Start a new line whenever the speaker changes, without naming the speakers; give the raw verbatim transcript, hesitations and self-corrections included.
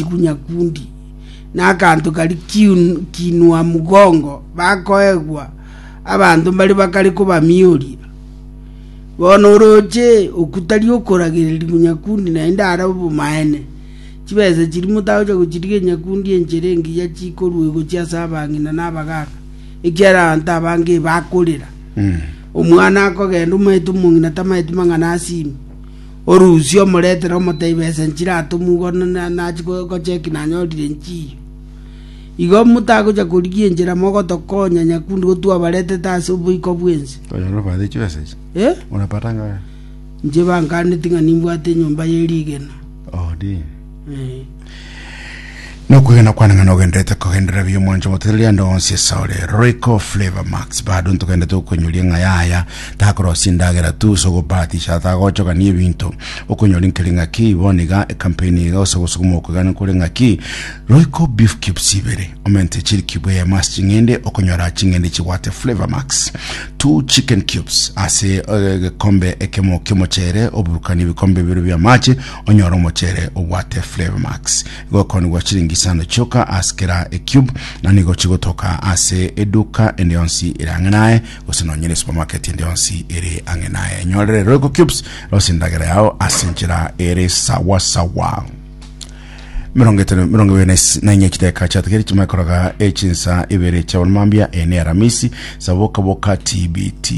Chinchugu Nyakundi na akanto kari kiun- kinua mugongo bakoegwa abanto mbare bakare kobamioria. Bono oroche okwo tari okoragererigwa Nyakundi naende are obomaene. Chibesa chiria motagocha gochirigia Nyakundi enchera engiya chikorwa gochia ase abang'ina na abagaka ekiagera abanto abange ebakorera. Omwana akogenda omaete omong'ina tamaeti mang'ana asime. Orusie omoretere omotebi besa nchiratomwa igo nachi gocheki nanyorire nchiyo. Igo motagocha korigia enchera mogotokonya Nyakundi gotwabaretete ase oboiko bw'ense.
Konyora obate chibesa echi.
Eh?
Unapata ngapi?
Inche bankaneti ng'a nimbwate enyomba ye rigena.
Oh, di.
Eh.
Nokwegena kwane ng'a nogenderete kogenderera buya omwancho motereria ande onsi esore Royco Flavor Max bado ntogenderete gokonyoria ng'a yaya takorosia endagera tu ase ogobahatisha tagochogania ebinto okonyora nkeri ng'aki bono iga ecampaign iga gose gosukuma okwegana kore ng'aki Royco beef cubes ibere omente chiri cube eyemo ase ching'ende okonyora ching'ende chibwate Flavor Max two chicken cubes ase egekombe ekemo ki'omochere oburukanie ebikombe bibere bia amache onyore omochere obwate Flavor Max gokonigwa chiringi isano chioka ase kera ecube na nigo chigotoka ase eduka ende yonsi ere ang'e naye gose nonye ne supermarket ende yonsi ere ang'e naye nyorere Royco cubes rosia endagera yao ase enchera ere sawa sawa mirongo etano mirongo ibere na is- na inye chideka chiatigere chimakoroga echinsa ibere chia mambia ene aramisi saboka boka tbt